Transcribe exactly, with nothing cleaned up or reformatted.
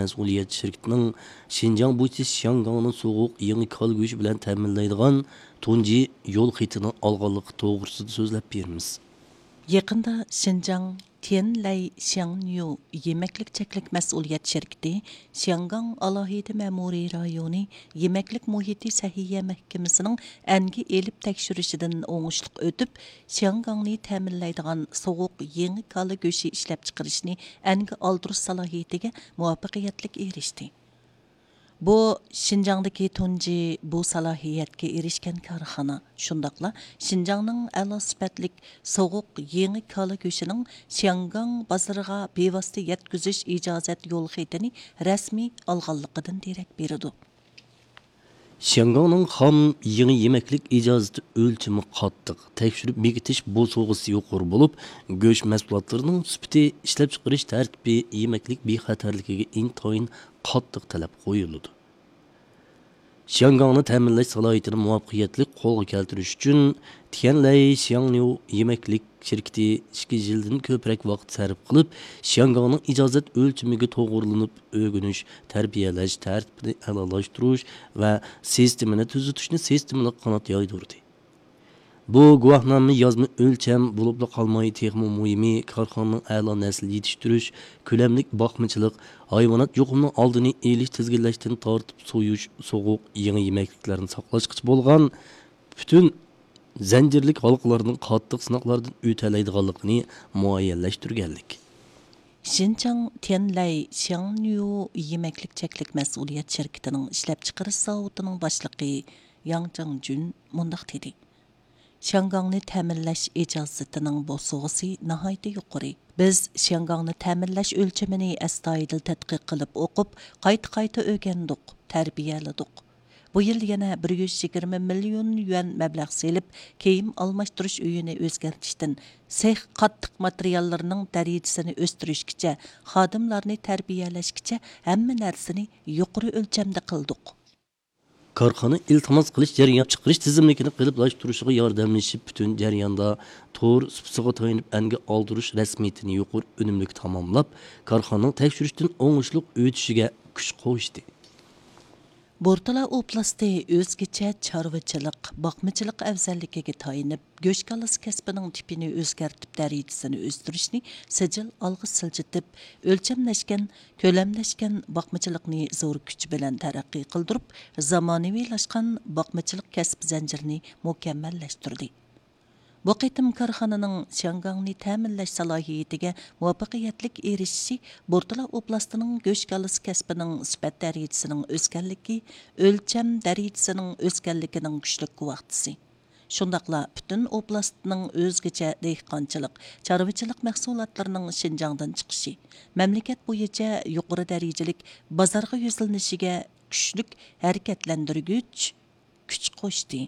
مەسئۇلىيەت شىركىتىنىڭ شىنجاڭ بويىچە شياڭگاڭنى سوغۇق يېڭى كالا گۆشى بىلەن تەمىنلەيدىغان تۇنجى يول خېتىنى ئالغانلىقى توغرىسىدا سۆزلەپ بېرىمىز. يېقىندا شىنجاڭ تيەنلەي شياڭنيۇ يېمەكلىك چەكلىك مەسئۇلىيەت شىركىتى شياڭگاڭ ئالاھىدە مەمۇرىي رايونى يېمەكلىك مۇھىتى سەھىيە مەھكىمىسىنىڭ ئەنگە ئېلىپ تەكشۈرۈشىدىن ئوڭۇشلۇق ئۆتۈپ، شياڭگاڭنى تەمىنلەيدىغان سوغۇق يېڭى كالا گۆشى ئىشلەپچىقىرىشنى ئەنگە ئالدۇرۇش سالاھىيىتىگە مۇۋەپپەقىيەتلىك ئېرىشتى. بۇ شىنجاڭدىكى تۇنجى بۇ سالاھىيەتكە ئېرىشكەن كارخانا، شۇنداقلا شىنجاڭنىڭ ئەلا سۈپەتلىك سوغۇق يېڭى كالا گۆشىنىڭ شياڭگاڭ بازىرىغا بىۋاسىتە يەتكۈزۈش ئىجازەت يول خېتىنى رەسمىي ئالغانلىقىدىن دېرەك بېرىدۇ. شياڭگاڭنىڭ خام يېڭى يېمەكلىك ئىجازىتى ئۆلچىمى قاتتىق، تەكشۈرۈپ بېكىتىش بوسۇغىسى يۇقىرى بولۇپ، گۆش مەھسۇلاتلىرىنىڭ سۈپىتى، ئىشلەپچىقىرىش تەرتىپى يېمەكلىك بىخەتەرلىكىگە ئىنتايىن قاتتىق تەلەپ قويۇلىدۇ. شياڭگاڭنى تەمىنلەش سالاھىيىتىنى مۇۋەپپەقىيەتلىك قولغا كەلتۈرۈش ئۈچۈن، تيەنلەي شياڭنيۇ يېمەكلىك شىركىتى ئىككى يىلدىن كۆپرەك ۋاقىت سەرپ قىلىپ، شياڭگاڭنىڭ ئىجازەت ئۆلچىمىگە توغرىلىنىپ ئۆگىنىش، تەربىيەلەش تەرتىپىنى ئەلالاشتۇرۇش ۋە سىستېمىنى تۈزىتىشنى سىستېمىلىق قانات يايدۇردى. بۇ گۇۋاھنامە يازما ئۆلچەم بولۇپلا قالماي، تېخىمۇ مۇھىمى، كارخانىنىڭ ئەلا نەسىل يېتىشتۈرۈش، كۆلەملىك باقمىچىلىق، ھايۋانات يۇقۇمىنىڭ ئالدىنى ئېلىش، تىزگىنلەشتىن تارتىپ سويۇش، سوغۇق، يېڭى يېمەكلىكلەرنى ساقلاشقىچە بولغان پۈتۈن زەنجىرلىك ھالقىلارنىڭ قاتتىق سىناقلاردىن ئۆتەلەيدىغانلىقىنى مۇئەييەنلەشتۈرگەنلىك. شىنجاڭ تيەنلەي شياڭنيۇ يېمەكلىك چەكلىك مەسئۇلىيەت شىركىتىنىڭ ئىشلەپچىقىرىش زاۋۇتىنىڭ باشلىقى ياڭ جاڭجۈن مۇنداق دېدى: شياڭگاڭنى تەمىنلەش ئىجازىتىنىڭ بوسۇغىسى ناھايىتى يۇقىرى. بىز شياڭگاڭنى تەمىنلەش ئۆلچىمىنى ئەستايىدىل تەتقىق قىلىپ ئوقۇپ، قايتا-قايتا ئۆگەندۇق، تەربىيەلىدۇق. بۇ يىل يەنە بىر يۈز يىگىرمە مىليون يۈەن مەبلەغ سېلىپ، كىيىم ئالماشتۇرۇش ئۆيىنى ئۆزگەرتىشتىن سېخ قاتتىق ماتېرىياللىرىنىڭ دەرىجىسىنى ئۆستۈرۈشكىچە، خادىملارنى تەربىيەلەشكىچە ھەممە نەرسىنى يۇقىرى ئۆلچەمدە قىلدۇق. كارخانا ئىلتىماس قىلىش جەريان چىقىرىش تىزىملىكىنى قېلىپلاشتۇرۇشىغا ياردەملىشىپ، پۈتۈن جەرياندا تور سۇپىسىغا تايىنىپ ئەنگە ئالدۇرۇش رەسمىيىتىنى يۇقىرى ئۈنۈملۈك تاماملاپ، كارخانىنىڭ تەكشۈرۈشتىن ئوڭۇشلۇق ئۆتۈشىگە كۈچ قوشتى. بورتالا ئوبلاستى ئۆزگىچە چارۋىچىلىق، باقمىچىلىق ئەۋزەللىكىگە تايىنىپ، گۆش كالىسى كەسپىنىڭ تىپىنى ئۆزگەرتىپ، دەرىجىسىنى ئۆستۈرۈشنى سىجىل ئالغا سىلجىتىپ، ئۆلچەملەشكەن، كۆلەملەشكەن باقمىچىلىقنى زور كۈچ بىلەن تەرەققىي قىلدۇرۇپ، زامانىۋىلاشقان باقمىچىلىق كەسىپ زەنجىرىنى مۇكەممەللەشتۈردى. بۇ قېتىم كارخانىنىڭ شياڭگاڭنى تەمىنلەش سالاھىيىتىگە مۇۋەپپەقىيەتلىك ئېرىشىشى بورتالا ئوبلاستىنىڭ گۆش كالىسى كەسپىنىڭ سۈپەت دەرىجىسىنىڭ ئۆسكەنلىكى، ئۆلچەم دەرىجىسىنىڭ ئۆسكەنلىكىنىڭ كۈچلۈك گۇۋاھچىسى. شۇنداقلا پۈتۈن ئوبلاستنىڭ ئۆزگىچە دېھقانچىلىق، چارۋىچىلىق مەھسۇلاتلىرىنىڭ شىنجاڭدىن چىقىشى، مەملىكەت بويىچە يۇقىرى دەرىجىلىك بازارغا يۈزلىنىشىگە كۈچلۈك ھەرىكەتلەندۈرگۈچ كۈچ قوشتى.